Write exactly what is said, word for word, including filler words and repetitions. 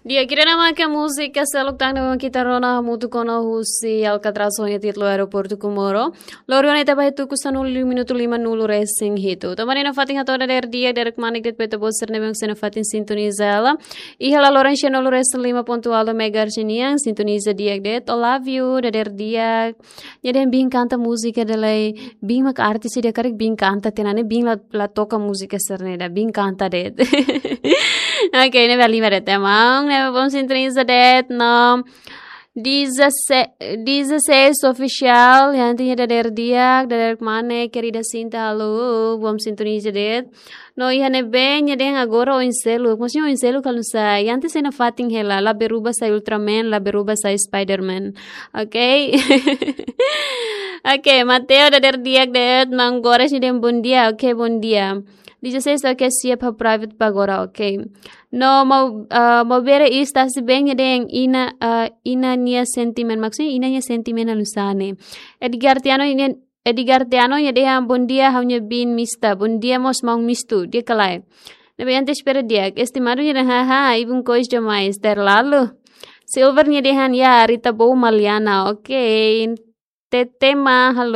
Di'ak, ida-ne'e mak múzika seluk tan ne'ebé mak ita rona hamutuk ona husi Alcatraz ho nia títulu Aeroportu Comoro. Loron ita ba tuku sanulu minutu lima nulu resin hitu. Tanba ne'e nafatin hato'o dadeer di'ak, dadeer-kmanek de'it ba ita-boot sira ne'ebé mak sei nafatin sintoniza hela. Iha la loron tianulu resin lima pontu ualu megahertz nian, sintoniza di'ak de'it. I love you, dadeer di'ak. Nia dehan biin kanta múzika ida lai, biin mak artis ida karik biin kanta tiha ona ne'e, biin la, la toka múzika sira-ne'e ida, biin kanta de'it. Oke, ne'ebé halimar de'it ema, ne'ebé bom sintoniza de'it, no. Dezasseis, dezasseis Oficial, iha ne'e dadeer di'ak, dadeer-kmanek, querida Sinta, halo, bom sintoniza de'it. No iha ne'ebé nia dehan agora oin seluk. Maksudnya oin seluk halo nu'usá? Iha ne'e sei nafatin hela, la berubah sai Ultraman, la berubah sai Spiderman. Oke. Oke, Mateo dadeer di'ak de'it, Mang Gores nia dehan bom dia. Oke, bom dia. Dezasseis, oke, siap ha'u private ba agora, oke. No mau, ah, mau bere is tasi bem nia dehan Ina, ah, Ina nia sentimen. Maksudnya Ina nia sentimen halo nu'usá ne'e? Edgar Tiano nia Edgar Tiano nia dehan bom dia, ha'u-nia biin Mista. Bom dia mós maun Mistu, di'ak ka lae? Ne'ebé ita espera di'ak. Estimadu nia dehan haha, ibun kois demais, terlalu. Silver nia dehan ya, Rita Bow Maliana. Oke. Tetema, halo.